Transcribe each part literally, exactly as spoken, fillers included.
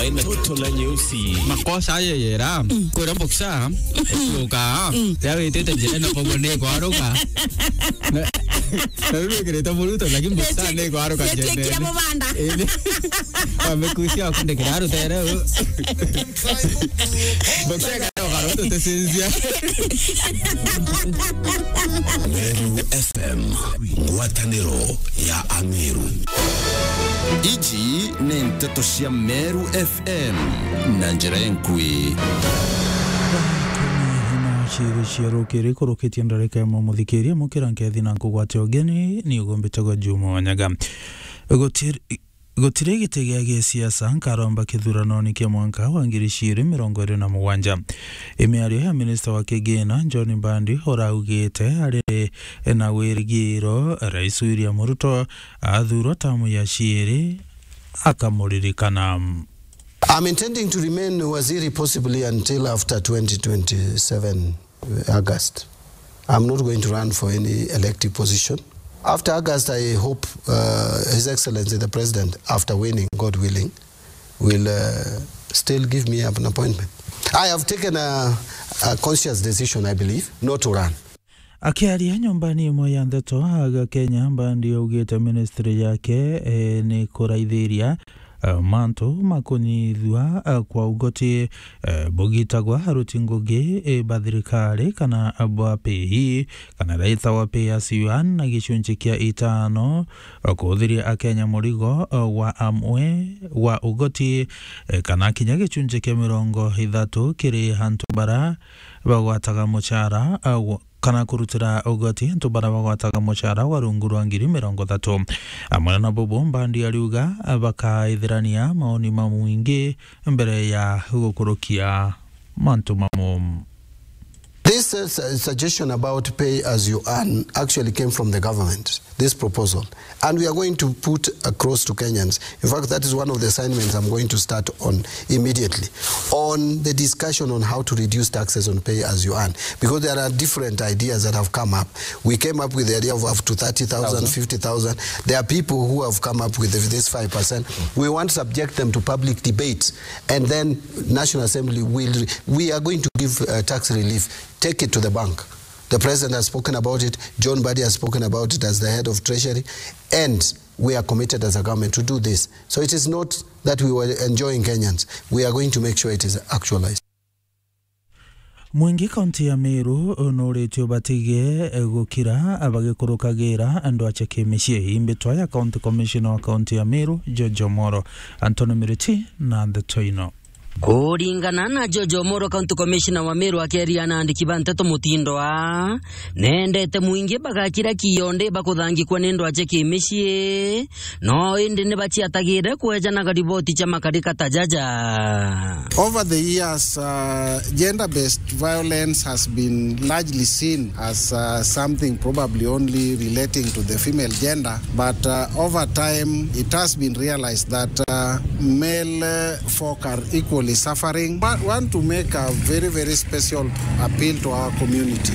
Toto la nyeusi. Makosa ayo yera. Kwira boxer. Tuka. Ya witite njira na kogo ni kwaruka. Na, na riu wikirite muruto, lakini boxer ni kwaruka njira. Amekucia akundikira rutere. Boxer kana ukaruto tesinzia. Meru F M, ngwataniro ya Ameru. Iji ni nteto cia Meru F M na njira enkui. Thaa ikumi na ciiri cia rukiri kurukitie ndarika imwe, muthikiria mukira nkethi na nkugwate ugeni, ni ugumbitagwa Juma Wanyaga. Gutiri, gutiri giti gia gisiasa nkaromba kithuranoni kia mwanka wa ngiri ciiri mirongo iri na mugwanja. Imiario ya minista wa kigina John Mbandi uraugite ari na wirigiro Rais William Ruto athurwa tamu ya ciiri akamuririkana. I'm intending to remain waziri possibly until after twenty twenty-seven August. I'm not going to run for any elective position. After August, I hope, uh, His Excellency the President, after winning, God willing, will, uh, still give me an appointment. I have taken a, a conscious decision, I believe, not to run. Akiaria nyumbani imwe ya ndeto aga Kenya, Mbandi augite ministry yake, eh, ni kuraithiria, eh, mantu ma kunyithua, eh, kwa ugoti, eh, bugitagwa aruti ngugi, eh, ba thirikari kana bwa pay, kana raita wa pay as you earn na gicunji kia itano, eh, kuuthiria Akenya murigo, eh, wa amwe wa ugoti, eh, kana kinya gicunji kia mirongo ithatu kiri antu bara bagwataga mucara, eh, wa kana kurutira ugoti antu bara bagwataga mucara wa rungu rwa ngiri mirongo ithatu. Amwe na bubu, Mbandi ariuga bakaithirania maoni ma mwingi mbere ya gukurukia mantu mamu. This, uh, su-, suggestion about pay as you earn actually came from the government, this proposal. And we are going to put across to Kenyans. In fact, that is one of the assignments I'm going to start on immediately, on the discussion on how to reduce taxes on pay as you earn, because there are different ideas that have come up. We came up with the idea of up to thirty thousand, fifty thousand. There are people who have come up with this five percent. We want to subject them to public debate, and then National Assembly will, we are going to give, uh, tax relief. Take it to the bank. The president has spoken about it. John Mbadi has spoken about it as the head of treasury, and we are committed as a government to do this. So it is not that we were enjoying Kenyans. We are going to make sure it is actualized. Mwingi kaunti ya Meru nuritio batige gukira bagikurukagira andu ache kimicii. Imbitwa ya county commissioner wa kaunti ya Meru, George Omoro. Anthony Miriti na ndeto ino. Kuringana na George Omoro, county commissioner wa Meru, akeria na andiki ba nteto mutindo aa, nendete mwingi bagakira kionde bakuthangikwa ni ndwache kimicii, no indi ni baciatagire kwejanaga riboti cia makarika ta jaja. Over the years, uh, gender-based violence has been largely seen as, uh, something probably only relating to the female gender, but, uh, over time it has been realized that, uh, male, uh, folk are equally suffering. Wa-, want to make a very, very special appeal to our community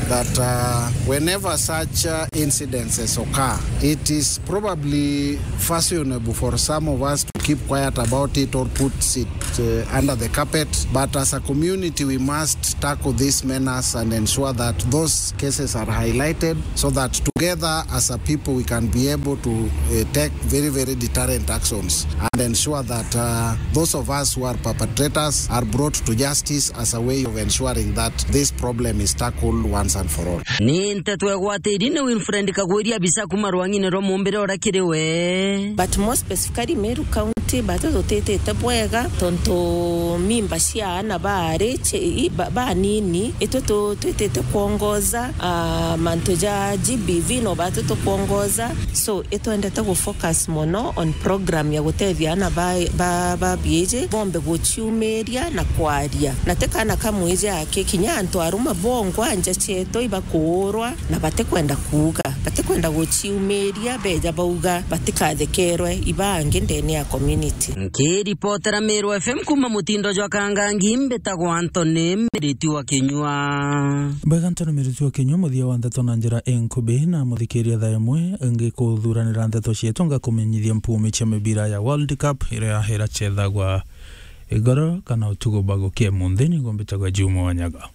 that, uh, whenever such, uh, incidences occur, it is probably fashionable for some of us to keep quiet about it or put it, uh, under the carpet. But as a community, we must tackle this menace and ensure that those cases are highlighted, so that together as a people we can be able to, uh, take very, very deterrent actions and ensure that, uh, those of us who are perpetrators are brought to justice as a way of ensuring that this problem is tackled once and for all. Ni nteto egwatiri ni Winfred Kagwiri, abisa kuma rwang'ine rwa mumbire uria kiri we. But more specifically Meru County, batu tutitite bwega tontu mimba cia aana baari ci-, i-, ba-, banini, itwe tu-, twitite kwongoza, ah, mantu ja G B V no batu tukwongoza. So, itwendete gu focus mono on program ya gutethia aana ba, ba, ba biiji bombe guciumiria na kwaria. Na ti kaana ka mwiji aki, kinya antu aruma bongwa nja cietu ibakuurwa na batikwenda kuuga, batikwenda kwenda guciumiria, beja bauga batikathekerwe ibangi ndene ya community. Nkiripotera Meru F M kuma mutindo jwa Kangangi, mbitagwa Anthony Miriti wa Kinyua. Bwega Anthony Miriti wa Kinyua, muthia wa ndeto na njira inkubi, na muthikiria thaa imwe ngikuthuranira ndeto cietu, ngakumenyithia mpumi cia mibira ya World Cup iria iracethagwa igoro kana utuku bagukie munthi. Niguo mbitagwa Juma Wanyaga.